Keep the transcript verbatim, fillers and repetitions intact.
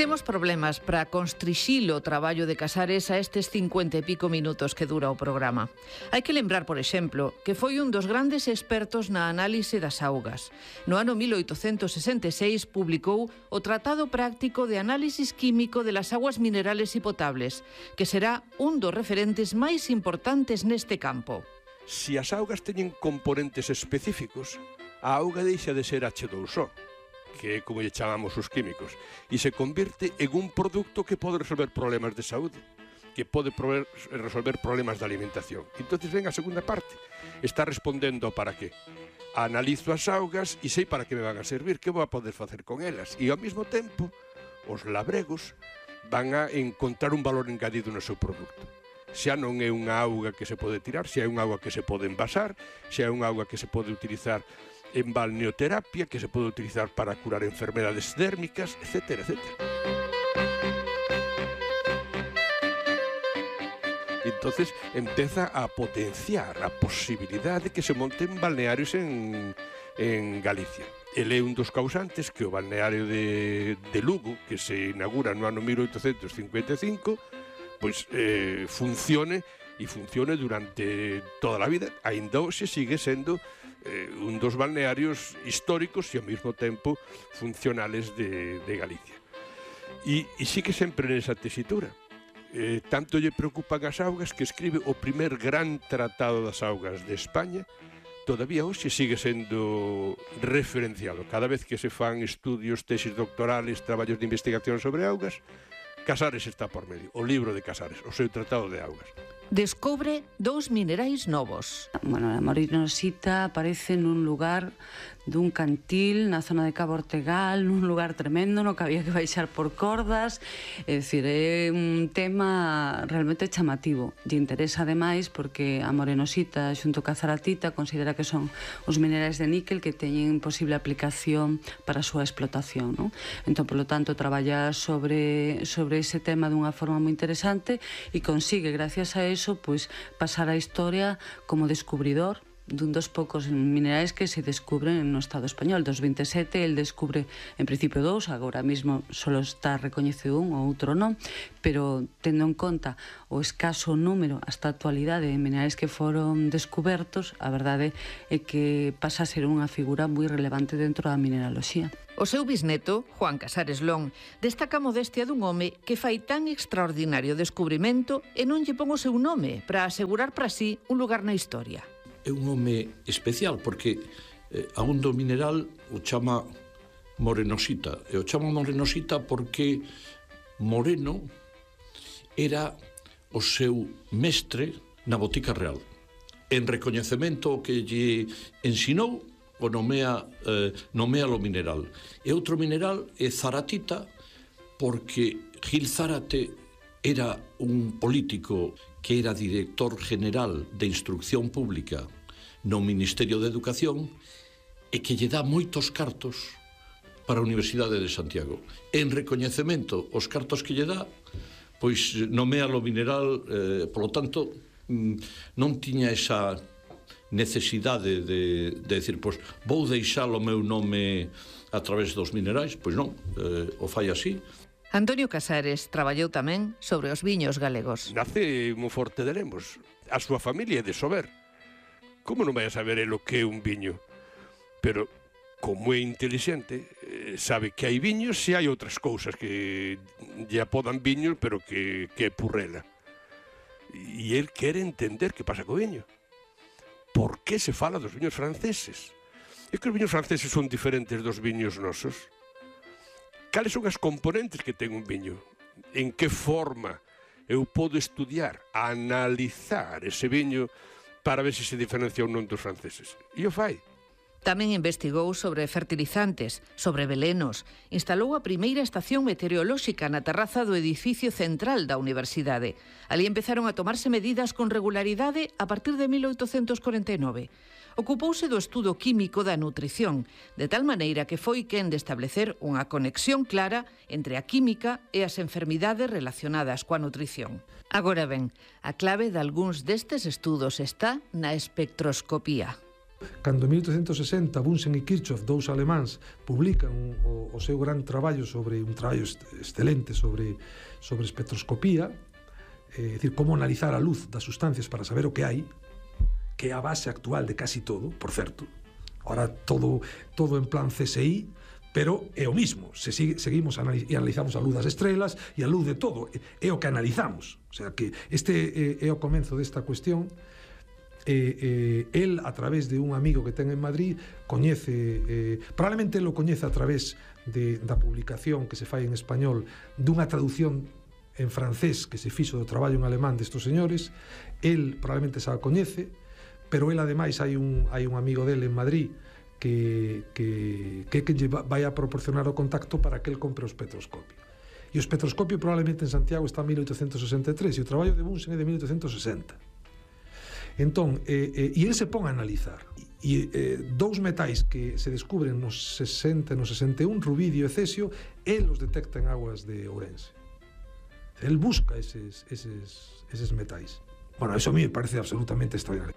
Temos problemas para constrixilo o traballo de Casares a estes cincuenta e pico minutos que dura o programa. Hai que lembrar, por exemplo, que foi un dos grandes expertos na análise das augas. No ano mil oitocentos sesenta e seis publicou o Tratado Práctico de Análisis Químico de las Aguas Minerales y Potables, que será un dos referentes máis importantes neste campo. Se as augas teñen componentes específicos, a auga deixa de ser hache dous o, que é como lle chamamos os químicos, e se convirte en un produto que pode resolver problemas de saúde, que pode resolver problemas de alimentación. Entón, ven a segunda parte. Está respondendo para qué. Analizo as augas e sei para que me van a servir, que vou a poder facer con elas. E ao mesmo tempo, os labregos van a encontrar un valor engadido no seu produto. Xa non é unha auga que se pode tirar, xa é unha auga que se pode envasar, xa é unha auga que se pode utilizar en balneoterapia, que se pode utilizar para curar enfermedades dérmicas, etcétera, etcétera. Entonces empeza a potenciar a posibilidade de que se monten balnearios en, en Galicia. Ele é un dos causantes que o balneario de, de Lugo, que se inaugura no ano mil oitocentos cincuenta e cinco, pois eh, funcione e funcione durante toda a vida. Ainda hoxe sigue sendo eh, un dos balnearios históricos e ao mesmo tempo funcionales de, de Galicia. E, e sigue sempre nesa tesitura. Eh, tanto lle preocupan as augas que escribe o primer gran tratado das augas de España. Todavía hoxe sigue sendo referenciado. Cada vez que se fan estudios, tesis doctorales, traballos de investigación sobre augas, Casares está por medio, o libro de Casares, o seu tratado de augas. Descobre dous minerais novos. Bueno, a morenosita aparece nun lugar dun cantil na zona de Cabo Ortegal, nun lugar tremendo no que había que baixar por cordas. É dicir, é un tema realmente chamativo. Lle interesa ademais porque a morenosita xunto ca zaratita considera que son os minerais de níquel que teñen posible aplicación para a súa explotación, non? Entón, polo tanto, traballa sobre, sobre ese tema dunha forma moi interesante e consigue, gracias a eso, pois, pasar a historia como descubridor dun dos poucos minerais que se descubren no Estado español. Dos vinte e sete, el descubre en principio dous, agora mesmo só está recoñecido un, ou outro non, pero tendo en conta o escaso número hasta a actualidade de minerais que foron descubertos, a verdade é que pasa a ser unha figura moi relevante dentro da mineraloxía. O seu bisneto, Juan Casares Lón, destaca a modestia dun home que fai tan extraordinario descubrimento e non lle pon o seu nome para asegurar para sí un lugar na historia. É un home especial porque eh, a un do mineral o chama morenosita, e o chama morenosita porque Moreno era o seu mestre na botica real. En recoñecemento que lle ensinou, o nomea, eh, nomea lo mineral. E outro mineral é zaratita porque Gil Zárate era un político que era director general de Instrucción Pública no Ministerio de Educación e que lle dá moitos cartos para a Universidade de Santiago. En recoñecemento os cartos que lle dá, pois nomea lo mineral, eh, polo tanto, non tiña esa necesidade de, de decir, pois vou deixar o meu nome a través dos minerais, pois non, eh, o fai así. Antonio Casares traballou tamén sobre os viños galegos. Nace en Monforte de Lemos. A súa familia é de Sober. Como non vai a saber el o que é un viño? Pero, como é inteligente, sabe que hai viños e hai outras cousas que lle apodan viños, pero que, que é purrela. E el quere entender que pasa co viño. Por que se fala dos viños franceses? É que os viños franceses son diferentes dos viños nosos. Cales son as componentes que ten un viño? En que forma eu podo estudiar, analizar ese viño para ver se se diferencia ou non dos franceses? E o fai. Tamén investigou sobre fertilizantes, sobre velenos. Instalou a primeira estación meteorolóxica na terraza do edificio central da universidade. Ali empezaron a tomarse medidas con regularidade a partir de mil oitocentos corenta e nove. Ocupouse do estudo químico da nutrición, de tal maneira que foi quen de establecer unha conexión clara entre a química e as enfermidades relacionadas coa nutrición. Agora ben, a clave de algúns destes estudos está na espectroscopía. Cando en mil oitocentos sesenta Bunsen e Kirchhoff, dous alemáns, publican o, o seu gran traballo sobre un traballo excelente sobre, sobre espectroscopía, é dicir, como analizar a luz das sustancias para saber o que hai, que é a base actual de casi todo, por certo. Ahora todo, todo en plan C S I, pero é o mismo. Se sigue, seguimos analiz e analizamos a luz das estrelas e a luz de todo. É o que analizamos. O sea que este é, é o comenzo desta cuestión. Eh, eh, el, a través de un amigo que ten en Madrid, coñece, eh, probablemente lo coñece a través de, da publicación que se fai en español dunha traducción en francés que se fixo do traballo en alemán destos señores. El probablemente xa a coñece, pero el ademais hai un, hai un amigo dele en Madrid que, que, que, que vai a proporcionar o contacto para que el compre o espectroscopio. E o espectroscopio probablemente en Santiago está en mil oitocentos sesenta e tres e o traballo de Bunsen é de mil oitocentos sesenta. Entón, eh, eh, e ele se pon a analizar e eh, dous metais que se descubren nos sesenta e nos sesenta e un, rubidio e cesio, el os detecta en aguas de Ourense. El busca eses, eses, eses metais. Bueno, eso a mí me parece absolutamente extraordinario.